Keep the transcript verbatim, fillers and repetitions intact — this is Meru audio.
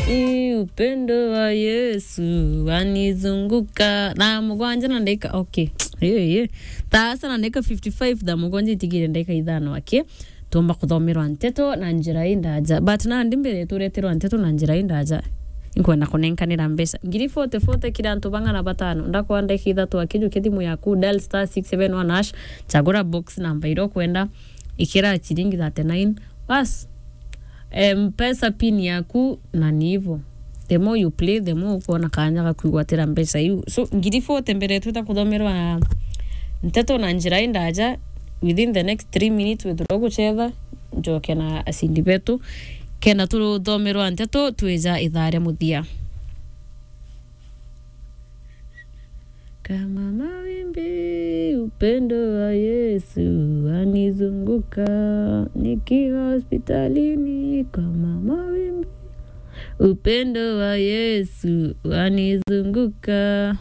Ii, upendo wa Yesu wanizunguka. Thaa mugwanja na ndagika, okay. Ye, ye. Thaa sita na ndagika fifty-five, thaa mugwanja itigire ndagika ithano aki. Tuumba kuthomerwa nteto na njira indaja. But nandi mbere tureterwa nteto na njira indaja, inkwenda kunenkanira mbeca ngiri forty, forty kiri antu bang'ana batano. Ndakwa ndagika ithatu aki, jukia thimu yaku, dial star six seven one hash, chagura box namba iria ukwenda, ikira chiringi thirty-nine. Bas. Mpesa pin yaku na ni ivo. The more you play, the more ukwona kanya ga kwigwatira mbeca iu. So, ngiri forty mbere twita kuthomerwa nteto na njira indaja, within the next three minutes withirwa gucetha, njoke na acindi betu. Kenda tuthomerwa nteto, twija ithaa ria muthia. Kama mawimbi, upendo wa Yesu wanizunguka. Nikiwa hospitalini, kama mawimbi, upendo wa Yesu wanizunguka.